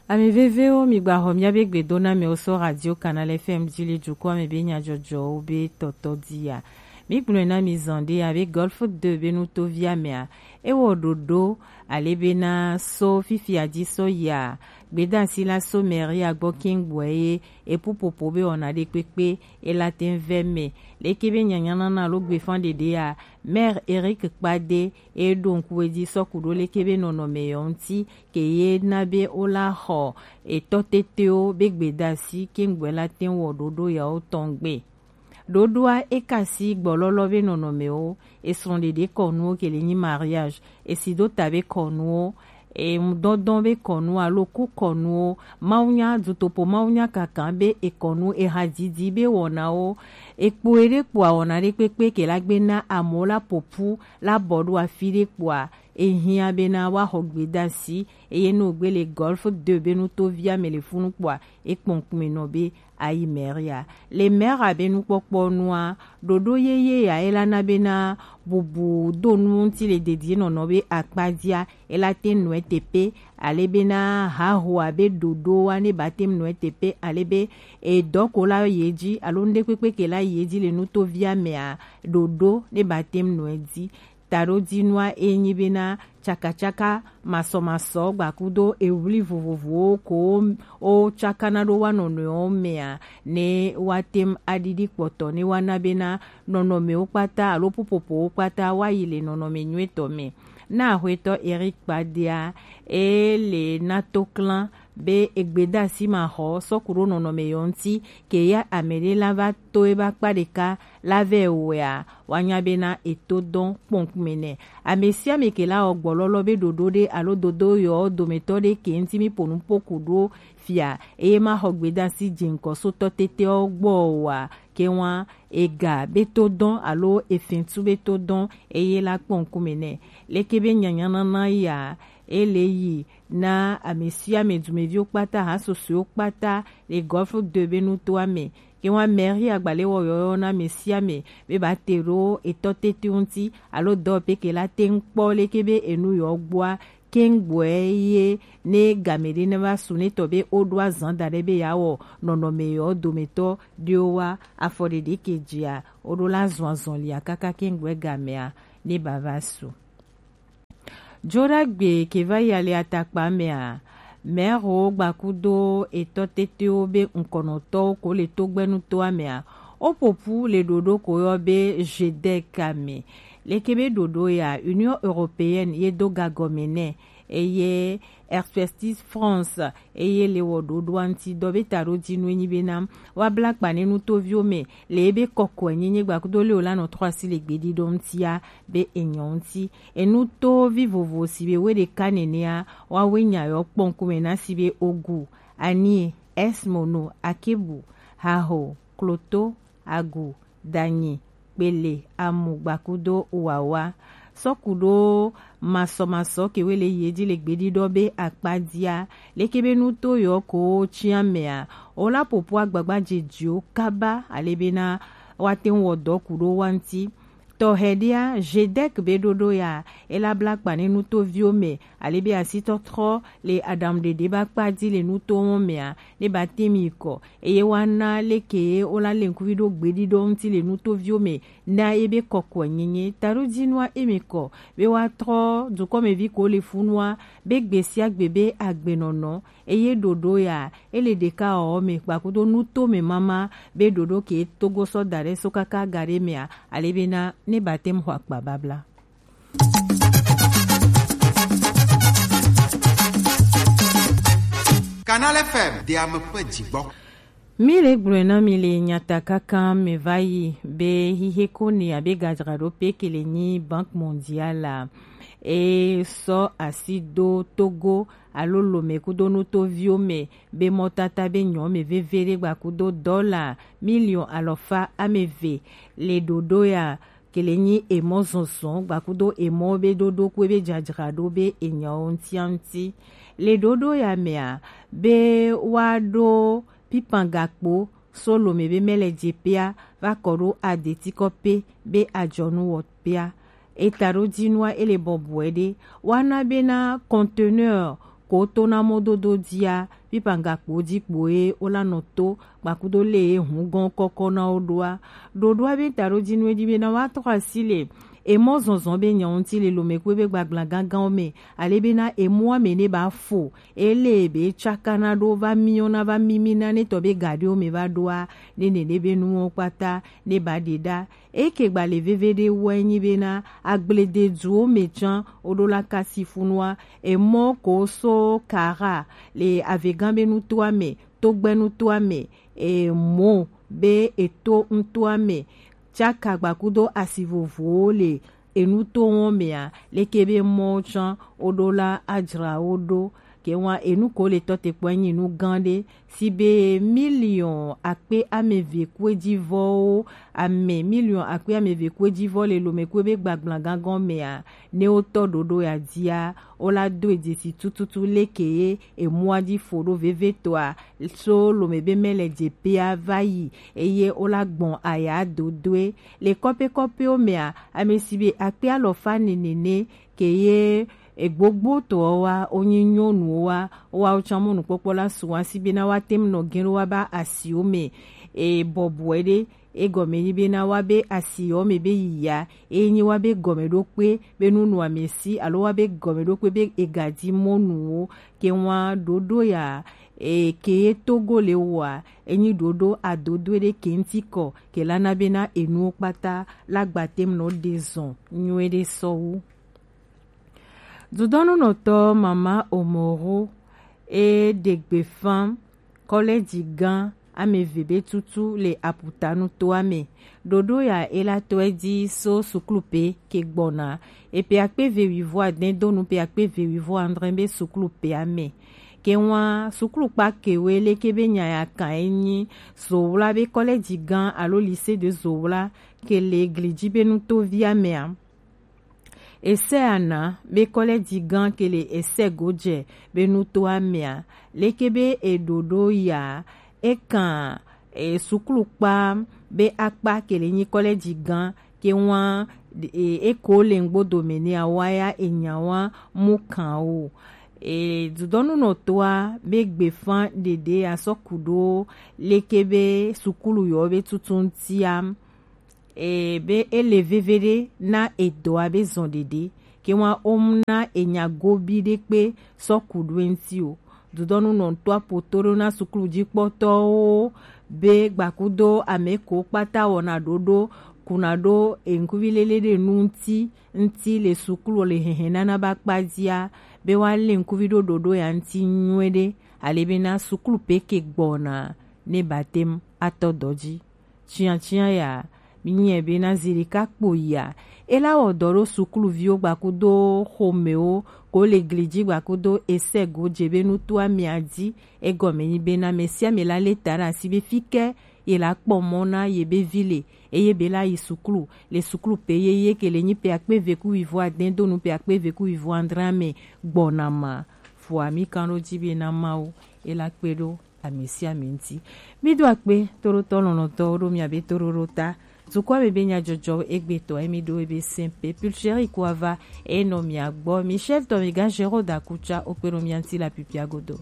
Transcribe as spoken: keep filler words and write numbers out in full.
Ami vevewo, mi gba xɔ miabe gbedonamɛwo so Radio Canal F M ji le dukɔa mɛ be nyajɔjɔwo be tɔtɔ dia. Mi gblɔe na mi zan ɖe abe Golf deux be nutovia mɛa, ewɔ ɖoɖo ale bena so fifia ji sɔ yia, gbedasi la so mɛria gbɔ kɛngbɔɛ ye epupopo be wɔna ɖe kpekpe ela tɛn vɛ mɛ. Leke be nyanyanana alo gbefan ɖeɖea, Maire Eric Kpade e ɖo ŋku edzi sɔku ɖo leke be nɔnɔmɛ yɔ ŋuti ke ye na be wola xɔ etɔ tetewo be gbedasi kɛngbɔɛ la tɛn wɔ ɖoɖo yawo tɔn gbe. Ɖoɖoa e kasi gbɔlɔlɔ be nɔnɔmɛwo, esrɔ̃ɖeɖe kɔnuwo ke le nyi mariage, esidota be kɔnuwo, emudɔdɔn be kɔnuwo alo ku kɔnuwo, mawunya dutopo mawunya kankan be ekɔnu ehadidi be wɔnawo, ekpo eɖe kpoa wɔna ɖe kpekpe ke la gbe na amewo la popu la bɔ ɖo afi ɖe kpoa, ehiã bena woaxɔ gbedasi eye ne wògbe le Golf deux be nutovia mɛ le funu kpoa, ekpɔ ŋkume nɔ be ayi mɛria. Le mɛra be nukpɔkpɔ nua, ɖoɖo yeye ya ela na bena bubu do nu ŋuti le dedienɔnɔ be akpadia, ela te nɔe tepe, ale bena hahoa be ɖoɖoa ne ba tem nɔe tepe, ale be edɔ ko la ye dzi alo ŋɖe kpekpe ke la ye dzi le nutovia mɛa, ɖoɖo ne ba tem nɔe dzi. Taɖodzinua e nyi bena tsakatsaka masɔmasɔ gbakudo ewli vovovowo ko wo tsakana ɖo wa nɔnɔewo mɛa, ne wa tem aɖiɖi kpɔtɔ ne wa na bena nɔnɔmewo kpata alo pupopowo kpata wa yi le nɔnɔme nyuitɔ mɛ. Na axwetɔ Eric Kpadea, e le na to klan be egbedasi ma xɔ sɔku ɖo nɔnɔme yɔ ŋuti ke ya ameɖe la va to eba kpa ɖeka la vɛ wɛa, wa nya bena eto dɔn kpɔnkume nɛ. Ame sia ame ke la wɔ gbɔlɔlɔ be ɖoɖo ɖe alo dodo yɔ dometɔ ɖe ke ŋuti mi po nu poku ɖo fia eye ma xɔ gbedasi dze ŋkɔ so tɔ tetewo gbɔ wa ke wa ega be to dɔn alo efɛtu be to dɔn eye la kpɔnkume nɛ. Leke be nyanyanana ya e le yi na ame sia ame dumeviwo kpata, ha susɔewo kpata le Golf deux be nutoa mɛ. Ke wa mɛri agbalẽ wɔ yɔyɔ na ame sia ame be ba te ɖo etɔ tete ŋuti alo dɔ pe ke la te ŋkpɔ leke be enu yɔ gbɔa kɛngbɔɛ ye ne game ɖe ne va su ne tɔ be wo ɖo azan da ɖe be ya wɔ nɔnɔme yɔ dometɔ ɖewo wa afɔ ɖeɖe ke dzia wo ɖo la zɔn azɔn lia kaka kɛngbɔɛ gamea ne ba va su. Joɖagbe ke va yi ale atakpa mɛa, mɛxowo gbakudo etɔ tetewo be ŋkɔnɔtɔwo ko le togbɛnutoa mɛa, wo ƒoƒu le ɖoɖo ko yɔ be G D E C a me. Leke be ɖoɖo ya, Union Européenne ye do gagɔme nɛ, eye Expertise France eye le wɔ ɖoɖoa ŋuti dɔ be taɖodzinue nyi bena woabla kpa ne nutoviwo me le ebe kɔkɔe nyenye gbakudo le wola nɔ trɔ asi le gbeɖiɖɔ ŋutia be enyɔ ŋuti. Enutovi vovo si be woe ɖeka nenea, woawoe nya yewo kpɔ ŋkume na si be ogu, anie, esmono, akebu, haho, kloto, agu, danyi, kpele, amu, gbakudo wawa. Sɔku ɖo masɔmasɔ ke woe le yi edzi le gbeɖiɖɔ be akpa dia, leke be nuto yewo ko tia mea, wola ƒoƒu agbagba dzedziwo kaba ale bena woate ŋu wɔ dɔ ku ɖo wa ŋuti. Tɔxɛ ɖea, G D E C be ɖoɖo ya, ela bla kpa ne nutoviwo me, ale be asitɔtrɔ le aɖaŋuɖeɖe ba kpa dzi le nutowo mea, ne ba te mi kɔ, eye wa na leke ye wola le ŋkuvi ɖo gbeɖiɖɔ ŋuti le nutoviwo me, na ye be kɔkɔe nyenye. Taɖodzinua eme kɔ, be wa trɔ dukɔmevi ko le funua, be gbe sia gbe be agbenɔnɔ, eye ɖoɖo ya, ele ɖeka ɔ me kpakudo nuto me mama be ɖoɖo ke Togo sɔ da ɖe so kaka ga ɖe mea, ale bena ne ba te ŋu xɔ akpa babla. Canal F M, de ame ƒe dzigbɔ. Mi le gblɔe na mi le nyatakaka me va yi be xixe ko ne abe gadzraɖoƒe ke le nyi Banque Mondiale a, e sɔ asi do Togo alo Lome kudo nutoviwo me be mɔtata be nyɔ me veve ɖe gbakudo dɔla miliɔn alɔfa ame eve le ɖoɖo ya ke le nyi emɔ zɔzɔ gbakudo emɔ be ɖoɖo kue be dzadzraɖo be enyawo ŋutia ŋuti. Le ɖoɖo ya mea, be woaɖo pipan gakpo so Lome be mele dzepea va kɔ ɖo adetikɔpe be adzɔnu wɔpea. Eta ɖo dzinua ele bɔbɔe ɖe. Woana bena conteneur ko to na mɔdodo dia, pipa gakpo ji kpo ye wo la nɔ to gbakudo le ye hungɔn kɔkɔ na wo ɖoa. Ɖoɖoa be ta ɖo ji nu e ji be na wa trɔ asi le emɔ zɔnzɔn be nya ŋuti le lomɛkue be gbagbla ganganwo mɛ, ale be na emɔa mɛ ne ba fo, ele be tsaka na ɖo va miɔ na va mimi na ne tɔ be gaɖewo mɛ va ɖoa, ne nene be nuwo kpata ne ba ɖe ɖa. Eke gbalẽ veviɖe wɔe nyi bena agblededuwo me tsã woɖo la kasifunua, emɔ ko so Kara le avegã be nutoa me, togbɛ nutoa me, emo be eto nutoa me, tsaka gbakudo asi vovowo le enutowo mea, leke be mɔwo tsã woɖo la adzra wo ɖo. Ke wa enu ko le tɔ te kpɔ enyi nu gã ɖe, si be miliɔn akpe ameve kue ji vɔwo, ame miliɔn akpe ameve kue ji vɔ le lomɛkue be gbagbla gangan mea, ne wo tɔ ɖoɖo ya dia, wo la do edzesi tututu leke ye emɔa ji fo ɖo vevetɔa, so lomɛ be mɛ le dze pea va yi, eye wo la gbɔn aya dodoe. Le kɔpe kɔpewo mea, ame si be akpe alɔfa nene ne ke ye egbogbo tɔwo wa, wonyi nyɔnuwo wa, woawo tsã mɔnukpɔkpɔ la su wa si bena woate ŋu nɔ gɛ̃ ɖo woaba asiwo me. E, bɔbɔe ɖe, egɔme nyi bena woabe asiwo me be yiya, eye nyi woabe gɔmeɖokpe be nunɔamesi alo woabe gɔmeɖokpe be egadi mɔnuwo ke wa ɖoɖo ya, e, ke ye Togo le wɔa, enyi ɖoɖo adodoe ɖe ke ŋuti kɔ, ke la na bena enuwo kpata la gbate ŋu nɔ ɖe zɔn nyuie ɖe sɔwu. Dudɔnunɔtɔ Mama Omoro e ɖe gbefa kɔlɛji gã ameve be tutu le aputanu toa me. Ɖoɖo ya e la tɔe ji so suklu pe ke gbɔna. Epe akpe ve wivɔ adɛn donu pe akpe ve wivɔ adre be suklu pe ame. Ke wa suklu kpa kewe leke be nya ya kan enyi Zowla be kɔlɛji gã alo lycée de Zowla ke le egli ji be nutovi amea. Ese ana be kɔlɛji gã ke le ese godze be nuto amea. Leke be eɖoɖo ya ekan e, suklu kpa be akpa ke le nyi kɔlɛji gã ke wa e, eko le ŋgbodo me ne awa ya enya wa mu kan o. E, dudɔnunɔtoa be gbefa ɖeɖe asɔ ku ɖo leke be suklu yɔ be tutu ŋutia. E, be ele veve ɖe na edɔa be zɔn ɖeɖe ke wa om na enya gobi ɖe kpe sɔ ku ɖo eŋuti o. Dudɔnu nɔ ŋutɔ apoto ɖo na suklu jikpɔtɔwo be gbakudo ame ko kpata wɔna ɖoɖo kuna ɖo eŋkuvi lele ɖe nu ŋuti ŋuti le suklu le hehe nana ba kpa jia be wa le ŋkuvi ɖo ɖoɖo ya ŋuti nyuie ɖe ale be na suklu pe ke gbɔna ne batem atɔ dɔ ji. Tsiatsiã ya, mi nyiɛ be na zi ɖeka kpo yia. E la wɔ dɔ ɖo sukluviwo gbakudo xomewo ko le gli ji gbakudo ese go dze be nutoa mia di. Egɔme nyi be na mesiame la le ta ɖe asi be fike ye la kpɔ mɔ na ye be vi le eye be la yi suklu le suklu pe ye ye ke le nyi pe akpe ve ku wivo adɛn do nu pe akpe ve ku wivo adre ame gbɔna ma. Fua mi kan ɖo ji be na Mawu e la kpe ɖo ame sia ame ŋuti. Mi do akpe toɖotɔ lɔlɔ̃tɔwo ɖo miabe toɖoɖo ta. Dukɔa me be nyadzɔdzɔ egbetɔ emi ɖo ebe sɛnpe pulcheri kuava enɔ mia gbɔ. Michel tɔ mi ga Gérard Akucha okpe nɔ mia ŋuti la pipia godo.